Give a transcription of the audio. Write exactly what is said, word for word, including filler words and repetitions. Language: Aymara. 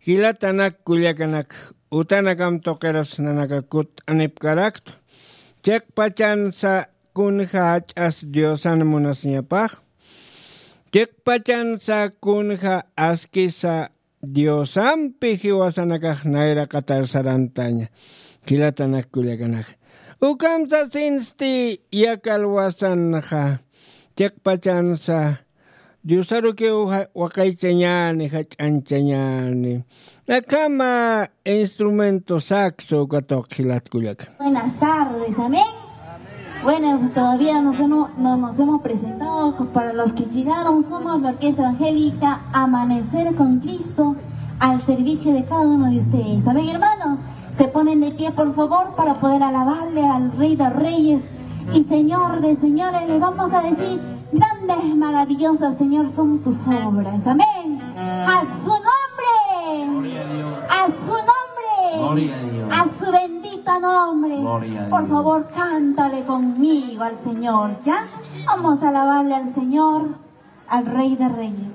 Jilatanak kullakanak, utanakam tuqirus nanaka kutt'anipkaraktu. Chiqpachansa kunja jach'as Diosan munasiñapax. Chiqpachansa kunja askisa Diosampi jiwasanakax nayraqatar sarantaña. Jilatanak kullakanak. Ukham sasinsti yakalwasanxa. Chiqpachansa Diosarukiw ja-, waqaychañäni, jach'añchañäni. Akhama instrumento saxo uka tuq jilat kullaka. Buenas tardes, amén. Bueno, todavía nos hemos, no nos hemos presentado. Para los que llegaron, somos la Orquesta Evangélica Amanecer con Cristo al servicio de cada uno de ustedes. Amén, hermanos. Se ponen de pie, por favor, para poder alabarle al Rey de Reyes y Señor de Señores. Le vamos a decir: "Grandes, maravillosas, Señor, son tus obras". Amén. A su nombre. Gloria a Dios. A su nombre. Gloria a Dios. A su bendito nombre. Gloria a Dios. Por favor, cántale conmigo al Señor, ¿ya? Vamos a alabarle al Señor, al Rey de Reyes.